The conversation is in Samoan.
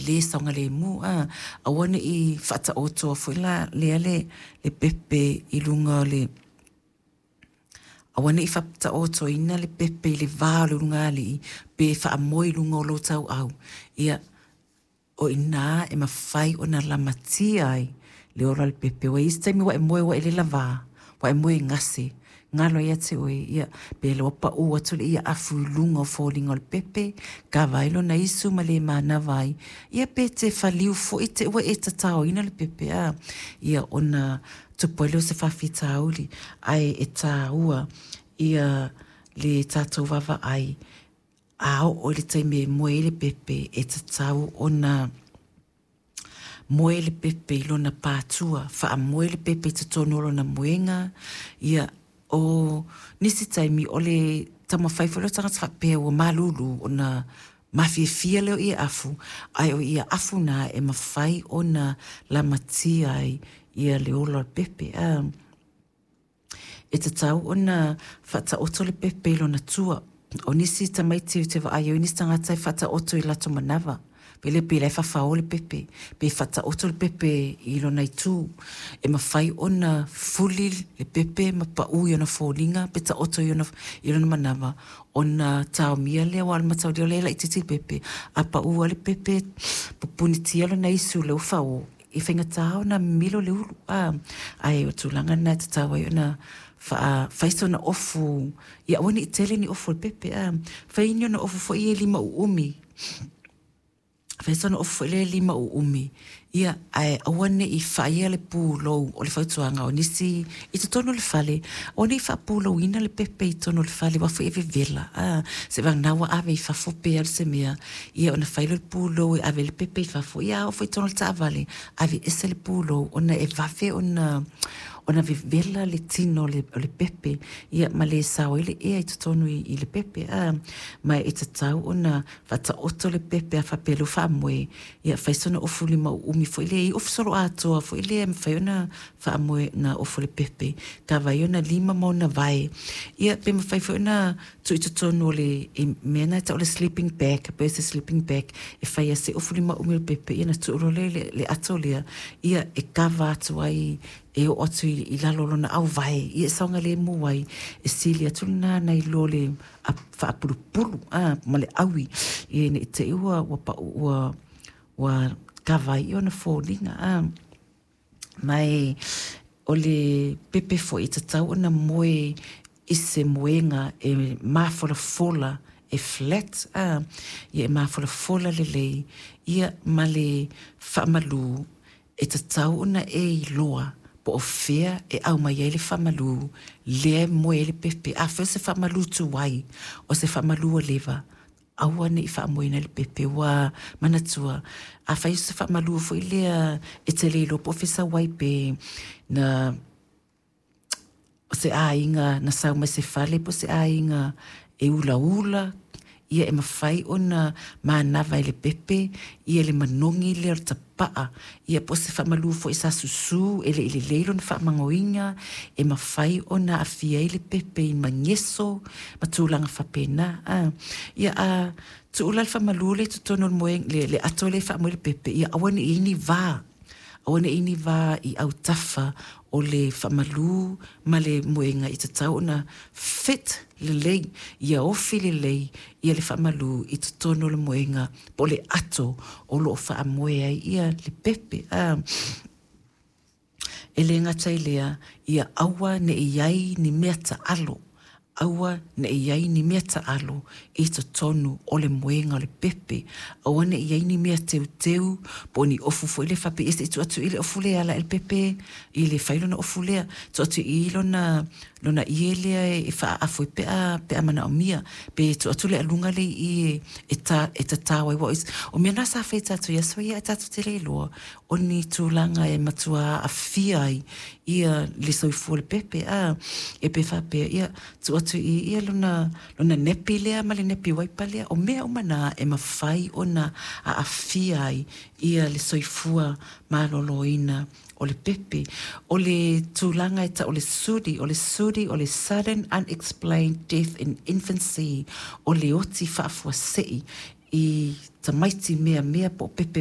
le saogalemu a. Aua ne i faataotoa foi la lea le pepe i luga o le aua ne i faataotoina le pepe i le va o le ulugalii pe faamoe i luga o lou tauau. Ia, o i ina e mafai ona lamatia ai le ola o le pepe. Ua i ai isi taimi ua e moe ua e le lavā, ua e moe gase, galo ia te oe, ia, pe ua pau atu le afu i luga o foliga o le pepe, kava ai lona isu ma le manava ai, ia pe te whaliu foi te ua e tataoina le pepe a, ia ona tupu ai lea o se faafitauli, ae e tāua ia le tatou vaavaai a oo i le taimi e moe ai le pepe e tatau ona moe le pepe i lona pātua, faamoe le pepe i totonu o lona moega. Ia, o nisi taimi o le taumafai foi lea o tagata faapea ua malulu ona mafiafia lea o ie afu, ae o ie afu na e mafai ona lamatia ai ia le ola o le pepe. E tatau ona faataoto le pepe i lona tua. O nisi tamaiti ou te vaai ai o nisi tagata e faataoto i latou manava. Pe le pe la e fafao le pepe, pe faataoto le pepe i lona itu. E mafai ona fuli le pepe ma pau i ona foliga pe taoto i ona, i lona manava ona taomia lea aua o le mataulia o lea e laitiiti le pepe. A pau lava le pepe, pupunitia lona isu i le fao, e faigata ona mimilo le ulu a, ae o tulaga na e tatau ai ona fai sona ofu, ia aua ne i tele ni ofu o le pepe a, fai ni ona ofu foi e lima uumi, fai sona ofu foi lea e lima uumi, ia ae aua ne i faia le pulou. O le fautuaga o nisi i totonu o le fale, aua ne i faapulouina le pepe i totonu o le fale aua foi e vevela a, seivagana ua ave i fafo pe alu se mea, ia ona fai lea o le pulou e ave ai le pepe i fafo, ia a oo foi i totonu o le taavale, ave ese le pulou ona e vave ona vevela le tino o le pepe, ia ma le sao ai le ea i totonu i le pepe a. Ma e tatau ona faataoto le pepe a faapea lea ua faamoe, ia fai sona ofu lima uumi foi lea i ofu soloatoa foi lea e mafai ona faamoe na ofu le pepe, kava ai ona lima ma ona vae. Ia pe mafai foi ona tuu i totonu o le mea na e tau o le sleeping bag, pe se sleeping bag e fai ai se ofu lima uumi o le pepe, ia ona tuu loa lea i le ato lea, ia e kava atu ai, e oo atu i lalo o lona auvae, ia e saogalemu ai, e sili atu lena nai lo le faapulupulu ma le aui, ia ne i te i ua pau ua kava ai ona foliga a. Ma e o le pepe foi e tatau ona moe i se moega e mafolafola, e flat a, ia e mafolafola lelei, ia ma le faamalu e tatau ona e iloa po o fea e aumai ai le faamalu lea e moe ai le pepe. Afai o se faamalu tuai, o se faamalu ua leva, aua ne i faamoeina le pepe. Ua manatua, afai o se faamalu foi lea e te le iloa po o fea sau ai, pe na o se aiga na sau mai se fale po o se aiga e ulaula, ia e mafai ona manava i le pepe, ia le manogi lea o le tapaa, ia po o se faamalu foi sa susu e le i lelei lona faamagoina, e mafai ona aafia ai le pepe i mageso ma tulaga faapena a. Ia a tuu la le faamalu lea i totonu o le moe, le ato lea e faamoe le pepe, ia aua ne i i ai ni va, aua ne i i ai ni va i autafa o le faamalu ma le moega, i tatau ona fit lelei, ia ofi lelei ia le faamalu i totonu o le moega po o le ato o lo o faamoe ai ia le pepe a. E le gata i lea, ia aua ne i ai ni mea taalo, aua ne i ai ni mea taalo i totonu o le moega o le pepe, aua ne i ai ni mea teuteu po o ni ofu foi lea faapea, ia se i tuu atu i le ofu lea e ala ai le pepe i le fai lona ofu lea, tuu atu i lona lona ie lea e faaafu ai pe a pe a manaomia, pe tuu atu le aluga lea i i e ta e tatao ai. Aua o mea na sa fai e tatou i aso ia ae tatou te le iloa o ni tulaga e matua aafia ai ia le soifua o le pepe a, e pe faapea ia tuu atu i ia lona lona nepi lea ma le nepi waipa lea. O mea uma na e mafai ona aafia ai ia le soifua maloloina o le pepe. O le tulaga e tau o le SUDI, o le SUDI o le sudden unexplained death in infancy, o le oti faafuasei i tamaiti meamea po o pepe.